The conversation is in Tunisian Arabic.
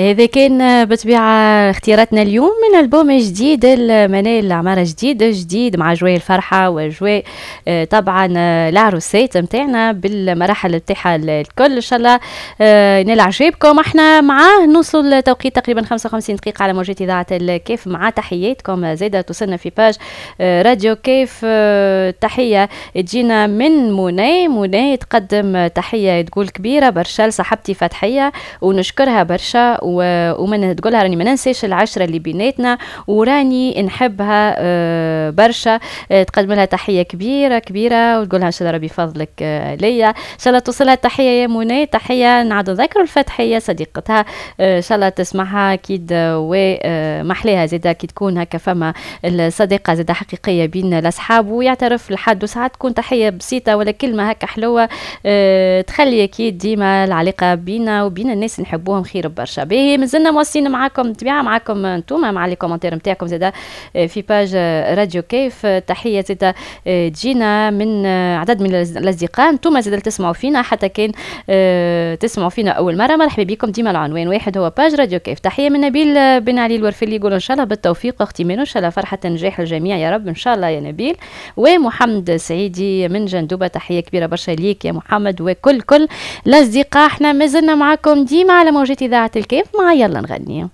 هذا كان بطبيعة اختياراتنا اليوم من ألبوم جديد المنال العمارة، جديد جديد مع أجواء الفرحة وأجواء طبعا العروسات متاعنا بالمراحل نتاعها الكل. إن شاء الله ينال عجبكم. احنا معاه نوصل لتوقيت تقريبا 55 دقيقة على موجات إذاعة الكيف، مع تحياتكم زادة توصلنا في page راديو كيف. تحية تجينا من منى، منى تقدم تحية تقول كبيرة برشا لصاحبتي فتحية ونشكرها برشا، ومن تقولها راني ما ننساش العشرة اللي بيناتنا وراني نحبها برشا. تقدم لها تحية كبيرة كبيرة وتقولها إن شاء الله ربي يفضلك ليا. إن شاء الله توصلها التحية يا منى. تحية نعود نذكر الفتحية صديقتها، إن شاء الله تسمعها أكيد، ومحليها زادا كي تكون هكا فما الصديقة زادا حقيقية بين الأصحاب ويعترف لحد، وساعات تكون تحية بسيطة ولا كلمة هكا حلوة تخلي أكيد ديما العلاقة بينا وبين الناس اللي نحبوهم خير برشا. باهي، مازلنا مواصلين معاكم طبيعة معاكم انتوما مع les commentaires نتاعكم زادا في page راديو كيف. تحية زادا تجينا من عدد من الأصدقاء، انتوما زادا تسمعوا فينا حتى كان تسمعوا فينا أول مرة، مرحبا بكم. ديما العنوان واحد هو page راديو كيف. تحية من نبيل بن علي الورفلي يقول إن شاء الله بالتوفيق أختي مينو، إن شاء الله فرحة نجاح الجميع يا رب إن شاء الله يا نبيل. ومحمد سعيدي من جندوبة، تحية كبيرة برشا ليك يا محمد وكل كل الأصدقاء. احنا مازلنا معاكم ديما على موجات إذاعة الكيف مع يلا نغني.